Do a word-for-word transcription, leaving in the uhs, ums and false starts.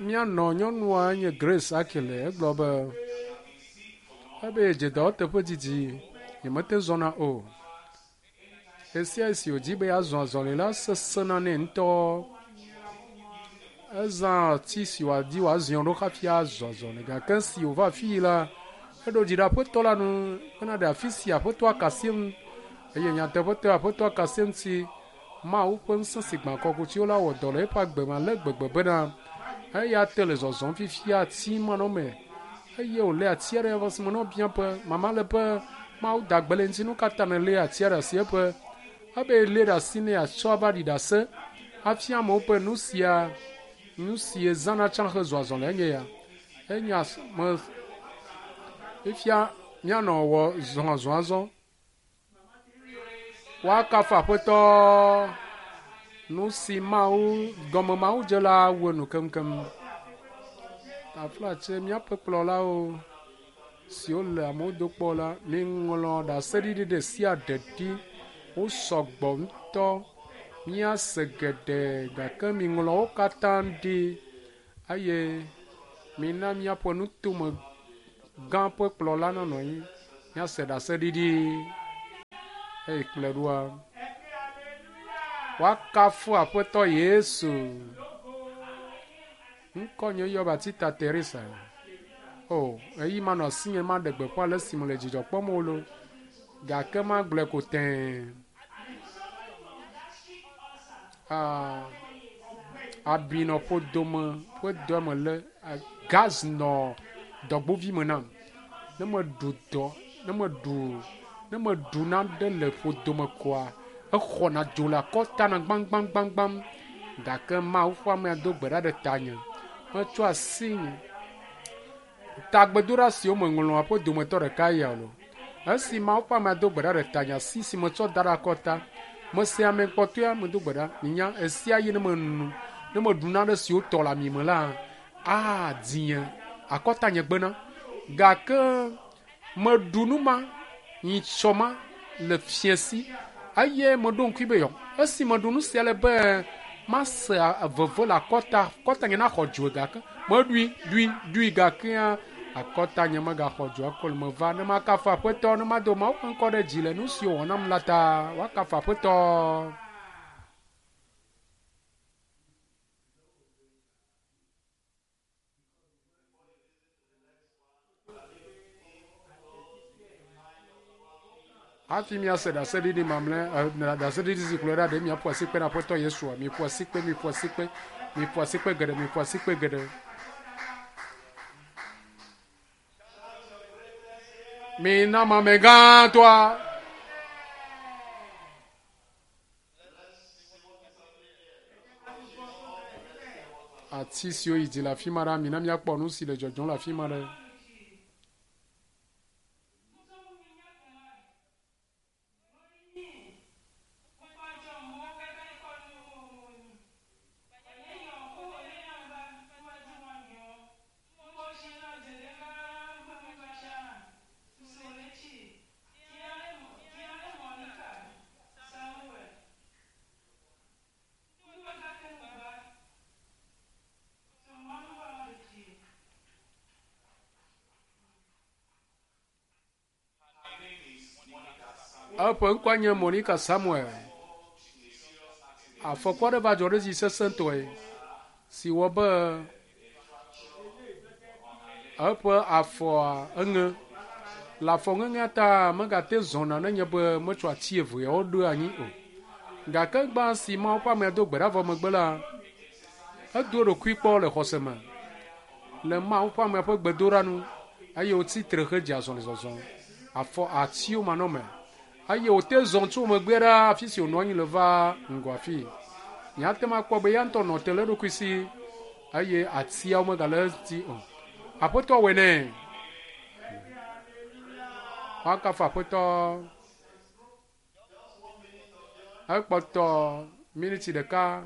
Míanɔ nyɔnua nye Grace Akile egblɔ be ebe dze dɔwɔteƒe didi nyemete zɔna o. Esia si wòdi be yeazɔ azɔli la sesẽna nɛ ŋutɔ. Ezã ati si wòadi wòaziɔ ɖo hafi azɔ azɔli gake esi wòva afi yi la, eɖo dzi ɖe aƒetɔ la nu bena ɖe afi si aƒetɔa ka asi eŋu eye nyateƒetɔe aƒetɔa ka asi eŋuti Mawu ƒe ŋusẽ si gbã kɔkutsiwo la wɔ dɔ le eƒe agbe me ale gbegbe bena eya te le zɔzɔm fifia ati manɔme eye wòlé ati aɖe eƒe asime ne wobia be mama le be Mawu da gbe le ŋuti nu ka ta nèlé atia ɖe asi eƒe ebe lé ɖe asi ne yeatsɔ ava ɖi ɖase hafi amewo ƒe nu sia nu si yezãna tsã hezɔ azɔli enye ya enya me fifia míanɔ wɔ zɔ azɔ azɔ woakafu aƒetɔ nu si Mawu gɔme Mawu dze la wu enu keŋkeŋ. Taflatse míaƒe kplɔlawo siwo le amewo do kpɔ la, miŋlɔ ɖaseɖiɖi ɖe sia ɖe ɖi. Wo sɔgbɔ ŋutɔ. Míase geɖe gake miŋlɔ wo katã ɖi eye mina míaƒe nutome gã ƒe kplɔla nanɔ anyi míase ɖaseɖiɖi eye kplɔe ɖoa. Woakafu aƒetɔ Yesu. Ŋkɔ nye yɔ Batista Teresa. O, eyi manɔ asinye maɖe gbeƒã le esime le dzidzɔ kpɔm o lo. Gake magblɔe ko tẽe. Ah, abi nɔ ƒodome ƒe dɔ me le gaz nɔ dɔgbovi me nam. Ne meɖu dɔ, ne meɖu, ne meɖu nane le ƒodome koa, exɔna dzo le akɔta na gbãgbãgbãgbãm. Gake Mawu ƒe amea do gbe ɖa ɖe tanye. Metsɔ asi nye tagbedoɖa siwo meŋlɔa ƒe dometɔ ɖeka ya lo. Esi Mawu ƒe amea do gbe ɖa ɖe tanye, asi si metsɔ da ɖe akɔta, mese ame kpɔtɔea medo gbe ɖa. Minya esia yi ne menu, ne meɖu nane si wotɔ le ami me la, aa dinye akɔta nye gbena. Gake meɖu nu ma nyitsɔ ma le fiẽsi eye meɖo ŋkui be yɔ. Esi meɖu nu sia le be mase veve le akɔta, akɔta nye naxɔ dzo gake meɖui, ɖui, ɖui gakea akɔta nye megaxɔ dzo akɔ le meva ne makafu aƒetɔ ne mado Mawu ƒe ŋkɔ ɖe dzi le nu siwo wòwɔ nam la ta. Woakafu aƒetɔ. Hafi míase ɖaseɖiɖi mamlɛ, ɖaseɖiɖi si kplɔe ɖa ɖe miaƒo asikpe na aƒetɔ Yesua. Miƒo asikpe, miƒo asikpe, miƒo asikpe geɖe, miƒo asikpe geɖe. Mina mame gãtɔa. Ati siwo yi dzi le afi ma ɖa, mina míakpɔ nu si le dzɔdzɔm le afi ma ɖe. Eƒe ŋkɔe nye Monica Samuel. Afɔku aɖe va dzɔ ɖe edzi sesẽtɔe si wɔ be eƒe afɔa eŋe. Le afɔ ŋeŋea ta megate zɔna nenye be metsɔ ati eveawo ɖo anyi o. Gake gbã si Mawu ƒe amea do gbe ɖa vɔ megbe la, edo eɖokui kpɔ le xɔse me le Mawu ƒe amea ƒe gbedoɖa nu eye wòtsi tre hedze azɔlizɔzɔ. Afɔ atiwo manɔme eye wòte zɔ tso megbe ɖa afi si wònɔ anyi le va ŋgɔ afi. Míate ŋu akpɔ be ya ŋutɔ nɔ te le eɖokui si eye atiawo megale eŋuti o. Aƒetɔ wɔe nɛ. Woakafu aƒetɔ. Ekpɔtɔ miniti ɖeka.